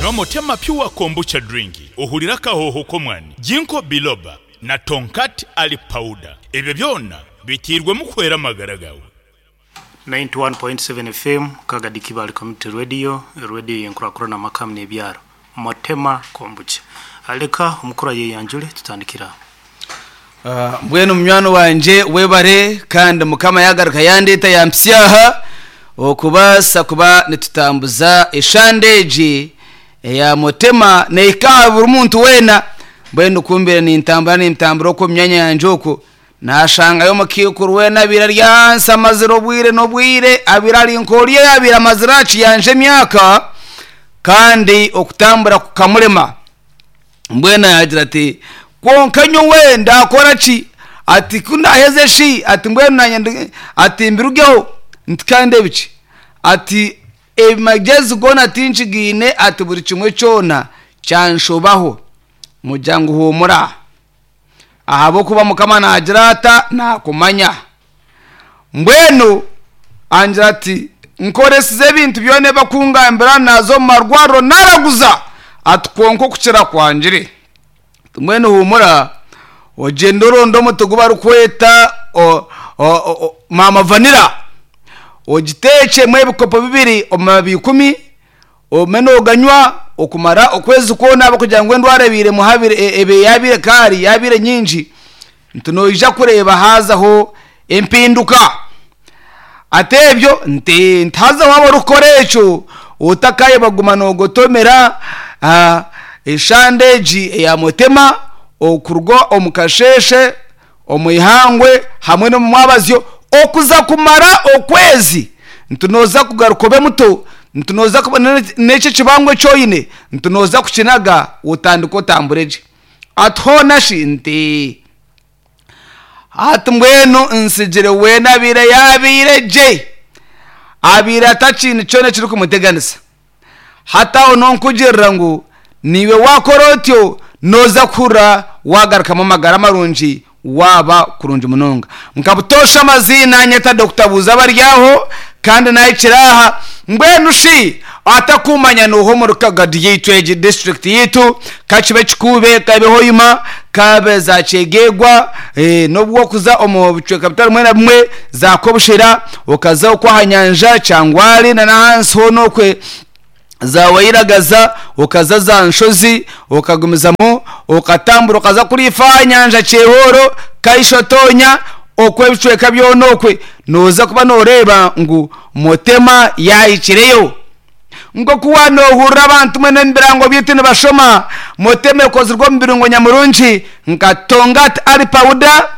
Nywa Motema Pure Kombucha Drink ohurire akahooho k'omwani, Ginkgo Biloba na Tongkat Ali Powder. Ebyo byona biteirwemu kuhwera amagara gaawe. 91.7 FM, Kagadi Kibaale Community Radio, radio y'enkurakurana amaka hamwe n'ebyaro. Motema Kombucha. Leka omukuru ayeyanjure tutandikire aho. Mbwenu munywani wangye webare kandi mukama yagaruka yandeeta yampitsya aha okubaasa kuba nitutambuza eshande egi eya Mutema nehika aha buri muntu weena. Mbwenu ku mbaire nintambura nintambura okwo omu myanya yangye okwo nashangayo omukaikuru weena abaire ari ahansi amazire obwire n'obwire abaire ari nk'oriya oyabaire amazire aha kiyanja emyaka kandi okutambura kukamurema. Mbwenu yaagira ati, Kwonka nyowe ndaakora ki? Ati, Ku ndaaheze shi? Ati, Mbwenu naanye ndi, ati, mbirugeho? Nti, Kandi ebiki? Ati, Amagyezi goona tinkigaine, ati, buri kimwe kyona kyanshobaho. Mugira ngu huumura, ahabw'okuba Mukama naagira ata, Naakumanya. Mbwenu angira ati, Nkoresize ebintu byona ebi bakungambira, naaza omu marwariro naaraguza, ati kwonka okukira kwangire. Ati mbwenu huumura ogyende oronde omuti ogu barikweta maama vanira, ogiteekyemu ebikopo bibiri omu mababi ikumi, Ogume nooganywa okumara okwezi kwona ahabw'okugira ngu endwara ebaire yaabaire kaari yaabaire nyingi, nti noija kureeba haazaho empinduka. Ati ebyo nti nti haza waaba orikukora ekyo otakaayebwa kuguma noogotomera eshande egi eya Mutema okuruga omu kasheeshe, omu ihangwe hamwe n'omu mwabazyo okuza kumara okwezi nti nooza kugaruka obe muto nti nooza kuba n'eki ekibangwa eki oine nti nooza kukinaga otandike otambure gye ati hoona shi nti hati mbwenu nsigire weena abaire yaabaire gye abaire atakiine kyona ekirikumuteganisa. Hati aho nonkugirira ngu naiwe wakora otyo noza kuhurira wagarukamu amagara marungi waba kurungi munonga. Nka butoosha amaziina nyeta Dokita Buuza Abaryaho kandi nahikire aha. Mbwenu shi atakumanya noha omuri Kagadi yaitu egi district yaitu kakibe Kikuube kabe Hoima kabe za Kyegegwa nobu wakuza omu bicweka bitari bimwe na bimwe za Kobushera okaza okwo aha nyanja Kyangwali na n'ahansi hoona okwe za Wairagaza okaza za Nshozi okagumizamu okatambura okaza kuriya ife aha nyanja Kyehooro, Kaisho-Tonya okwo ebicweka byona okwe nooza kuba nooreeba ngu Mutema yaahikireyo. Nk'oku waanohurira abantu mbwenu omu birango byaitu nibashoma, Mutema ekozirwe omu birungo nyamurungi nka Tongat Ali Powder,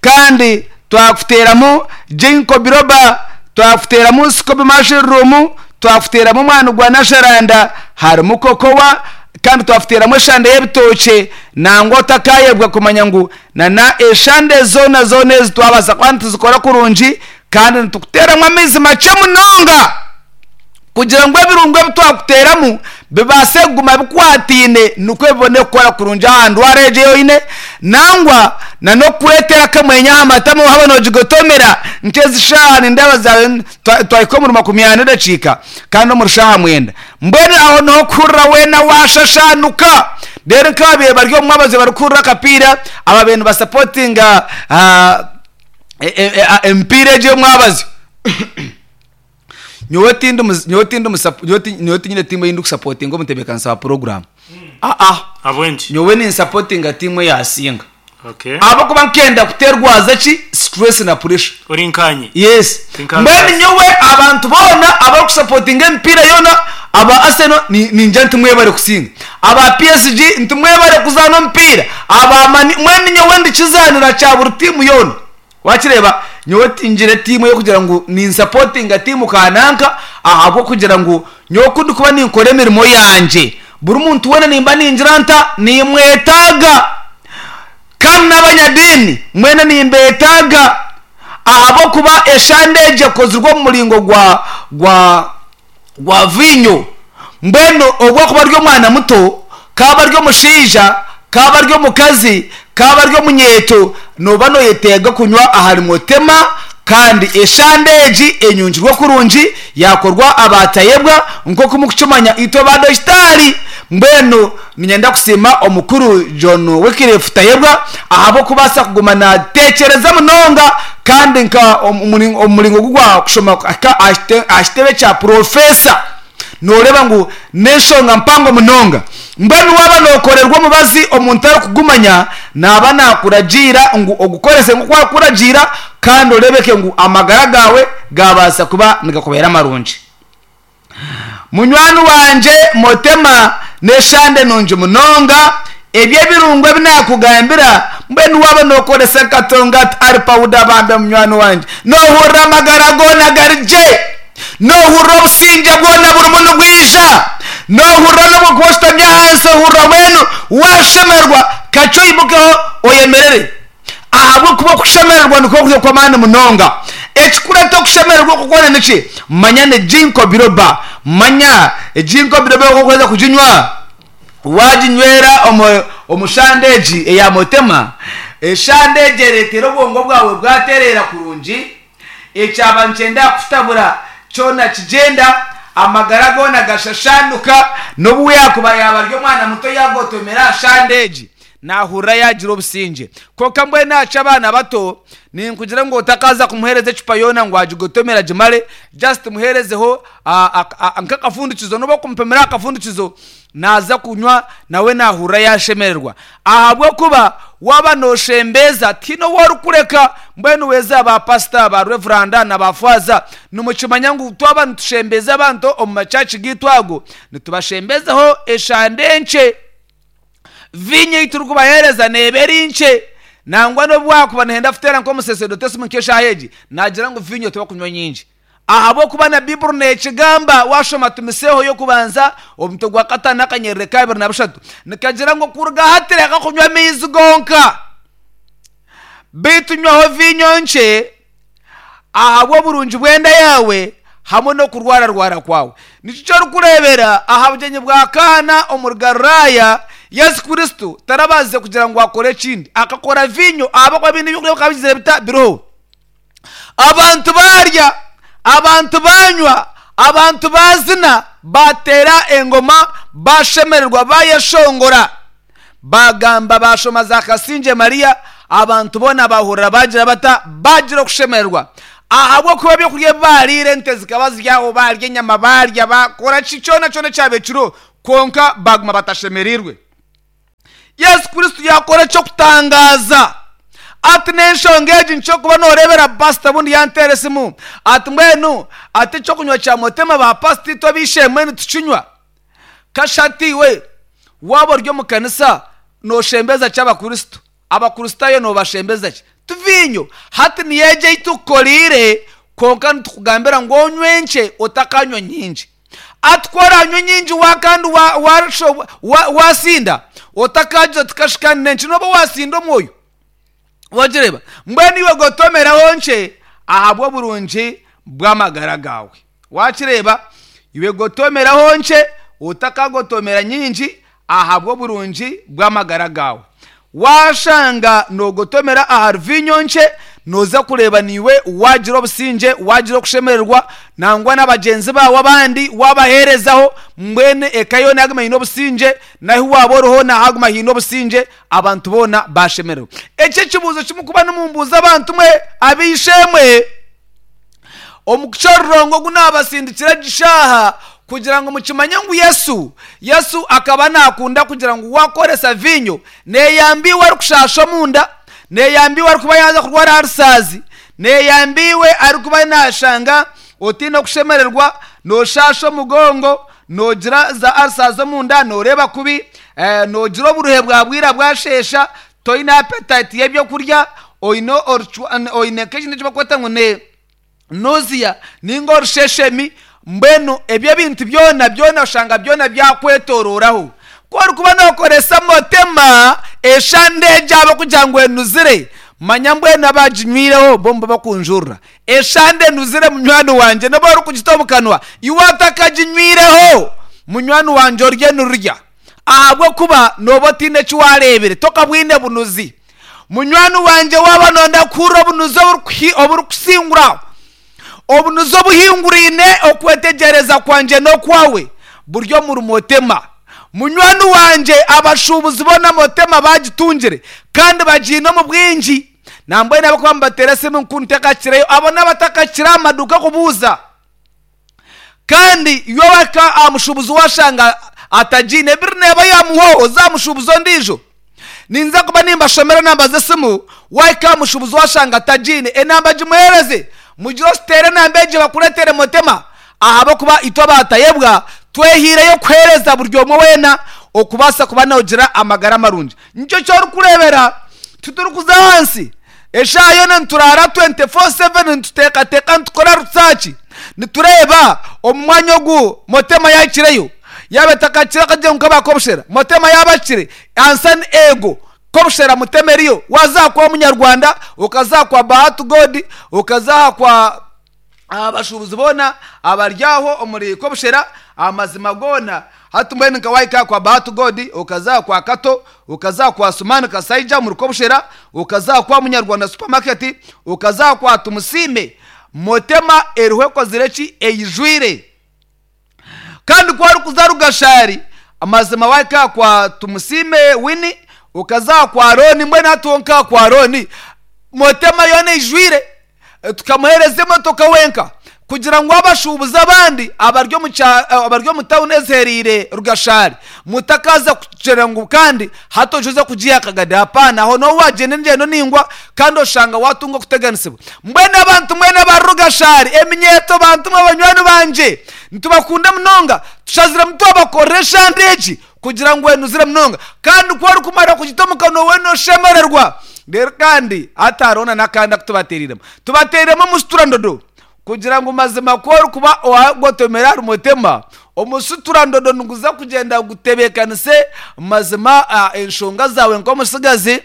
kandi twakuteeramu Ginkgo Biloba, twakuteeramu Scoby Mushroom, twakuteeramu omwani gwa Nasharanda, harimu Cocoa, kandi twakuteeramu eshande y'ebitookye. Nangwa otakaayebwa kumanya ngu na eshande zoona zoona ezi twabaasa kuba nituzikora kurungi kandi nitukuteeramu amaizi makye munonga. kugira ngu ebirungo ebi twakuteeramu bibaase kuguma bikwataine nikwo bibone kukora kurungi aha ndwara egyo ei oine nangwa na n'okukureetera akamwenyo aha matama waaba noogigotomera nk'ezi shaaha nindeeba zaabaire twahika omuri makumyana edakiika kandi omuri shaaha mwenda mbwenu aho niho okuhurira weena waashashaanuka reero nk'ababaire bari omu mwabazyo barikuhurira akapiira ababaire nibasapotinga emipiira egyo ey'omwabazyo. Nyowe tindi muzi nyowe tindi musapo nyowe ti nyowe tinyine tiimu ei ndikusapotinga omu ntebeekanisa wa puroguraamu. Aa. Ahabw'enki? Nyowe ninsapotinga tiimu eyaasinga. Okay. Ahabw'okuba nkenda kuterwaza ki? Stress na pressure. Ori nkaanye. Yes. Tinka Mbwenu nkaasi. nyowe abantu boona abarikusapotinga emipiira yoona, aba Arsenal ni ningira nti mwebare kusinga. Aba PSG nti mwebare kuzaana omupiira. Aba Man U mbwenu nyowe ndi kizaanira kya buri tiimu yoona. Wakireeba, nyowe tingire tiimu ey'okugira ngu ninsapotinga tiimu kananka ahabw'okugira ngu nyowe ku ndikuba ninkora emirimo yangye, buri muntu weena nimba ningira nta, nimwetaaga. Kandi n'abanyadiini mwena nimbeetaaga ahabw'okuba eshande egyo ekozirwe omu muringo gwa, gwa, gwa viinyo. Mbwenu obu akuba ari omwana muto, k'abe ari omushaija, k'abe ari omukazi, k'abe ari omunyeeto, nooba nooyetenga kunywa ahari Mutema Kandi eshande egi enyungirwe kurungi yakorwa aba Tayebwa nk'oku murikukimanya itwe ba Dogitaari. Mbwenu niinyenda kusiima omukuru John Wycliffe Tayebwa ahabw'okubaasa kuguma naatekyereza munonga kandi nka omu muringo ogu gwa kushoma kuhika aha kitebe kya Purofeesa. Nooreeba ngu n'enshonga mpango munonga. Mbwenu waaba nookorerwa omubazi omuntu arikugumanya, naaba naakuragiira ngu ogukorese nk'oku arikukuragiira kandi oreebeke ngu amagara gaawe gaabaasa kuba nigakubeera marungi. Munywani wangye Motema n'eshande nungi munonga. Ebyo ebirungo ebi naakugambira, mbwenu waaba nookoresa nka Tongat Ali Powder bambe munywani wangye, noohurira amagara goona gari gye. Noohurira obusingye bwona burimu nibwija. Noohurira n'obu orikuba oshutami ahansi ohurira mbwenu waashemererwa. Kakye oimukeho oyemerere ahabw'okuba okushemererwa nikwo kuri okw'amaani munonga. Ekikureeta okushemererwa okwo kwona niki? Manya ni Ginkgo biloba. Manya Ginkgo biloba oku orikuheza kuginywa. Waaginywera omu shande egi eya Motema, eshande egi ereetera obwongo bwawe bwatereera kurungi. Ekyaba nikyenda kukutabura kyona kigyenda, amagara goona gashashanuka, n'obu yaakuba yaaba ari omwana muto yaagotomera aha shande egi, naahurira yaagira obusingye. Kwonka mbwenu aha ky'abaana bato, ninkugira ngu otakaaza kumuheereza ecupa yoona ngu agigotomere agimare, just muheerezeho nk'akafundikizo, n'obu orikumupimira aha kafundikizo, Naaza kunywa nawe naahurira yaashemererwa ahabw'okuba waaba nooshembeeza tihaine ou orikureka. Mbwenu weeza ba pasita, ba revuranda na ba faaza nimukimanya ngu twaba nitushembeeza abantu omu machachi gaitu ago nitubashembezaho eshande enkye. Viinyo ei turikubaheereza neeba eri nkye. Nangwa n'obu waakuba nooyenda kuteera nk'omusaseredote esimu nk'eshaaha egi naagira ngu viinyo tibakunywa nyingi. Ahabw'okuba na Baiburi neekigamba, waashoma Timoseeho y'okubanza, omutwe gwa kataano n'akanyerere ka 23, nikagira ngu okuruga hati reka kunywa amaizi gonka, beitu nywaho viinyo nkye ahabw'oburungi bw'enda yaawe hamwe n'okurwararwara kwawe. Nikyo eki orikureebera aha bugyenyi bwa Kaana omuri Galilaaya, Yesu Kristo tarabaasize kugira ngu akore ekindi, akakora viinyo ahabw'okuba biine eby'okurya bikaba bigizire bita? Biriho. Abantu baarya, abantu baanywa, abantu baazina, baateera engoma, baashemererwa, baayeshongora, baagamba, baashoma za Kasingye Mariya, abantu boona baahurira baagira bata? Baagira okushemererwa. Ahabw'okuba ebyokurya ebi baariire, ente zikaba ziri aho, baarya enyama, baarya, baakora ki, kyona kyona ekyabaire kiriho, kwonka baaguma batashemereirwe. Yesu Kristo yaakora eky'okutangaaza. Ati n'enshonga egi nikyo kuba nooreebera pasita obundi yanteera esimu ati mbwenu ati ekyokunywa kya Motema ba pasita itwe ab'eishe-emwe nitukinywa. Kasha ati iwe waaba ori omu kanisa nooshembeza ki Abakristo? Abakristaayo noobashembeza ki? Ti viinyo? Hati niyo egyo ei tukukoreire kwonka nitukugambira ngu onywe nkye otakanywa nyingi. Ati ku oraanywe nyingi wa kandi wa wa wa waasinda, otakaagira oti kashi kandi n'enki nooba waasinda omwoyo. Wagireeba? Mbwenu iwe gotomeraho nkye ahabw'oburungi bw'amagara gaawe. Wakireeba? Iwe gotomeraho nkye, otakagotomera nyingi ahabw'oburungi bw'amagara gaawe. Waashanga noogotomera ahari viinyo nkye, nooza kureeba naiwe waagira obusingye, waagira okushemererwa, nangwa na bagyenzi baawe abandi waabaheerezaho, mbwenu eka yoona yaaguma eine obusingye, n'ahu waaba ori hoona haaguma haine obusingye, abantu boona baashemererwa. Eki ekibuuzo ki murikuba nimumbuuza abantu mwe ab'eishe-emwe? Omu kushororonga ogu naabasindikira egi shaaha kugira ngu mukimanye ngu Yesu, Yesu akaba naakunda kugira ngu waakoresa viinyo neeyamba iwe arikushaasha omunda, neeyamba iwe arikuba yaaza kurwara aha rusaazi, neeyamba iwe arikuba naashanga otaine okushemererwa, nooshaasha omugongo, noogira za arisaazi omunda, nooreeba kubi, noogira oburuhe bwa bwira bwasheesha, toine apetayiti y'ebyokurya, oine orucwa oine nk'ekintu eki barikweta ngu ni nausea ninga orusheshemi, mbwenu ebyo ebintu byona byona oshanga byona byakwetororaho. Ku orikuba nookoresa motema eshande egyo ahabw'okugira ngu enuzire, manya mbwenu abaginywireho bo nibo bakunjurira. Eshande enuzire munywani wangye nobu orikugita omu kanwa, iwe otakaginywireho munywani wangye orye nirurya. Ahabw'okuba nooba otaine eki waareebire, tokabwine bunuzi. Munywani wangye waaba nooyenda kuhurira obunuzi oburikusingura, obunuzi obuhinguraine okwetegyereza kwangye n'okwawe buri omuri Motema. Munywani wangye abashuubuzi boona Motema baagitungire kandi bagiine omu bwingi. Nambwenu abarikuba nibateera esimu ngu ntakakireyo, abo n'abatakakire aha maduuka kubuuza. Kandi iwe wahika aha mushuubuzi waashanga atagiine, biri neeba yaamuhwaho oze aha mushuubuzi ondiijo. Ninza kuba nimbashomera enamba z'esimu, waahika aha mushuubuzi waashanga atagiine, enamba gimuheereze, mugire ositeere enamba egyo bakureetere Motema ahabw'okuba itwe abaatayebwa twehaireyo kuheereza buri omwe weena okubaasa kuba noogira amagara marungi. Nikyo eki orikureebera titurikuza ahansi Eshaaha yoona nituraara 24/7 nituteekateeka nitukora risaaki nitureeba omu mwanya ogu Motema yaahikireyo yaaba etakakire akagira ngu nk'aba Kobushera Motema yaaba ahikire ansa ni eego Kobushera Mutema eriyo waaza aha kwa Omunyarwanda okaza aha kwa Bahati God okaza aha kwa Abashuubuzi boona abari aho omuri Kobushera, amazima goona hati mbwenu nka wahika aha kwa Bahati God, okaza aha kwa Kato, okaza aha kwa Sumani Kasaija omuri Kobushera, okaza aha kwa Munyarwanda Supermarket, okaza aha kwa Tumusiime, Motema eriho ekozire ki? Eijwire. Kandi ku orikuza Rugashari, amazima wahika aha kwa Tumusiime Winnie, okaza aha kwa Arooni, mbwenu hati ho nk'aha kwa Arooni, Motema yoona eijwire. Tukamuheereza emotoka wenka kugira ngu abashuubuzi abandi abari omu abari omu tawuni ezihereire Rugashari mutakaaza kugira ngu kandi hati oije oze kugiiha akagade. Hapaana, aho nooba waagyenda engyendo ndaingwa kandi oshanga waatunga okuteganisibwa. Mbwenu abantu mwena abari Rugashari, eminyeeto bantu mwe banywani bangye, nitubakunda munonga. Tushaziremu twabakorera eshande egi kugira ngu enuzire munonga. Kandi ku orikumara kugita omu kanwa weena oshemererwa. Reero kandi hati hariho na n'akandi aku tubateereiremu. Tubateereiremu omusuturandodo kugira ngu mazima ku orikuba waagotomera ahari Mutema, omusuturandodo niguza kugyenda gutebeekanise mazima enshonga zaawe nk'omutsigazi.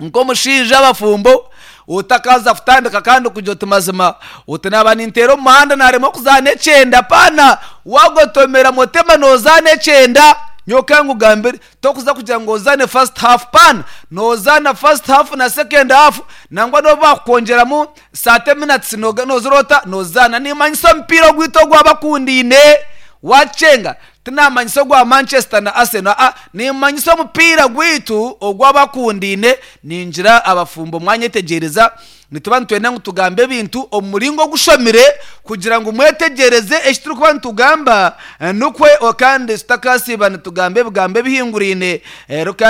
Nk'omushaija abafumbo, otakaaza kutandika kandi kugira oti mazima oti naaba ninteera omu muhanda naaremwa kuzaana ekyenda apaana waagotomera motema noozaana ekyenda nyowe ka nkugambire tokuza kugira ngu ozaane first half paana noozaana first half na second half nangwa n'obu baakukwongyeramu thirty minutes noozira ota noozaana niimanyisa omupiira ogwaitu ogwabakundaine waakyenga Tinamanyisa ogwa Manchester na Arsenal, aa, nimanyisa omupiira gwaitu ogw'abakundaine. Ningira abafumbo mwanyetegyereza, nituba nitwenda ngu tugambe ebintu omu muringo ogushomire kugira ngu mwetegyereze eki turikuba nitugamba, nikwo kandi tutakasiiba nitugamba ebigambo ebihinguraine.